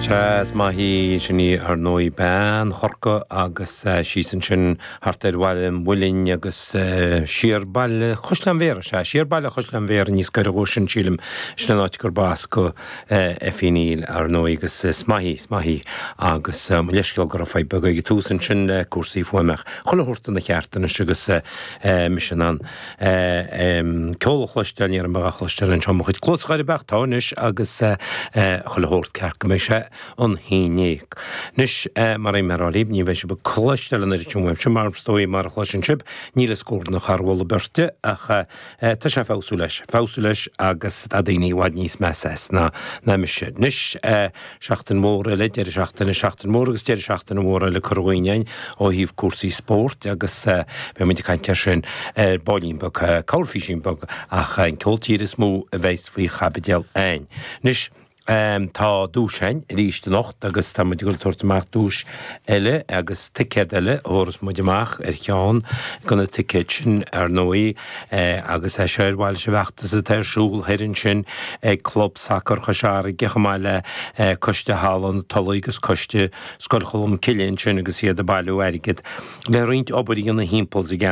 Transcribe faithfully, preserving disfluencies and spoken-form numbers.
Sea, is maith í sin í ar ndóigh bean Chorcaí agus síos ansin thart ar Bhaile an Mhuilinn agus siar baile Chaisleán Bhéarra, sea, siar baile Chaisleán Bhéarra níos gaire dhó sin sílim, sin an áit gurb as do Effie Neill ar ndóigh agus is maith í, is maith í agus mo leithscéal go raibh fadhb beag ag an tús ansin le cúrsaí fuaime ach chuile shórt ina cheart anois agus mise in ann ceol a chloisteáil, ní raibh mé á chloisteáil anseo mo chuid cluas ar bith ach tá anois agus chuile shórt ceart go mbeidh sé an hAoine. Anois mar a bhí mé ag rá libh, ní bheidh sibh ag cloisteáil an oiread sin uaimse mar is dóigh mar a chloiseann sibh, níl a scór ina charbhal beirte ach tá sé ag feabhsú leis, feabhsú leis agus tá daoine i bhfad níos measa as ná ná mise. Anois seachtain mhór eile, deireadh seachtaine, seachtain mhór agus deireadh seachtaine mhór eile curtha chugainn againn ó thaobh cúrsaí spóirt agus beidh muid ag caint air sin ar baillín beag, corrphíosín beag ach an ceol tíre is mó a bheas faoi chaibidil againn. Anois tá duais againn arís anocht agus tá muid ag dul ag tabhairt amach duais eile agus ticéad eile a thabharfas muid amach ar cheann de na ticéid sin ar ndóigh agus é seo ar mhaithe leis an bhfeachtas atá ar siúl thoir ansin ag Club Sacair Chois Fharraige chomh maith le Coiste Halla na Tulaí agus Coiste Scoil Cholm Cille ansin agus iad ag bailiú airgead le roinnt obair a dhéanamh thimpeall sa gceantar.